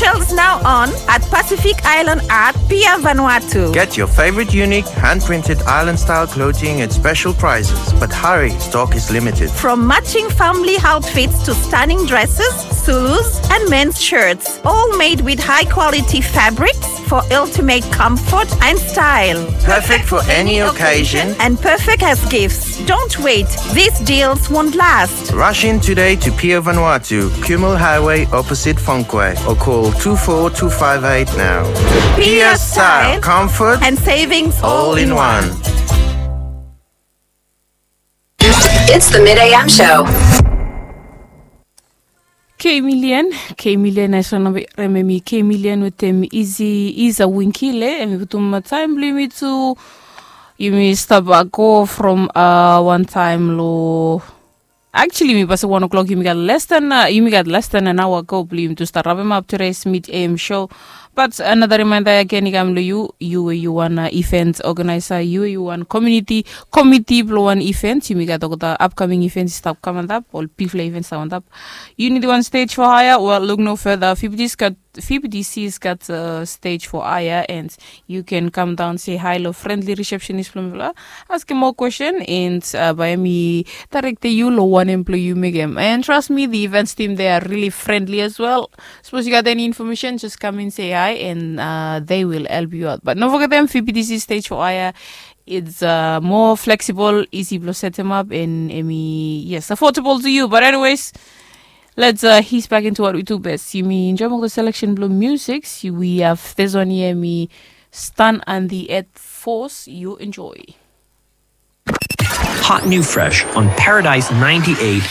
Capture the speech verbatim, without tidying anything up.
Sales now on at Pacific Island Art, Pier Vanuatu. Get your favorite unique hand-printed island-style clothing at special prices, but hurry, stock is limited. From matching family outfits to stunning dresses, Zulus, and men's shirts, all made with high-quality fabrics for ultimate comfort and style. Perfect for any occasion and perfect as gifts. Don't wait, these deals won't last. Rush in today to Pier Vanuatu, Kumul Highway, opposite Fonque, or call two four two five eight now. Pier style, comfort, and savings all in one. It's the Mid A M show. K Million, K Million, ae so nao bae yumi K Million wetem Easy Iza Wingkile, hemi putum taem blong yumi tu, yumi stap go from, uh, wan taem lo. Actually, yumi pasem wan o'clock, yumi gat less than, uh, yumi gat less than an hour go blong yumi tu stap wrap him up today's Mid A M show. But another reminder again i kam lo yu, yu we yu wan, uh, event organizer, yu we yu wan community committee blong wan event, yumi gat olgeta upcoming events i stap kam antap, ol bigfala events i stap antap. You need one stage for hire? Well, look no further. F B D Cs gat, F B D Cs gat, uh, stage for hire, and you can come down, say hi lo friendly receptionist blong mifala, askem moa question, and, uh, bae hemi directem yu lo wanem blong yu mekem. And trust me, the events team, they are really friendly as well. Sapos yu gat any information, just come and say hi, and, uh, they will help you out. But no fogetem, F B D C stage for hire, it's, uh, more flexible, easy blong setem up, and hemi, yes, affordable to you. But anyways, let's, uh, ease back into what we do best. Yumi enjoem olgeta selection blong music. We have this one here, hemi Stan and the Earth Force. You enjoy. Hot new fresh on Paradise ninety-eight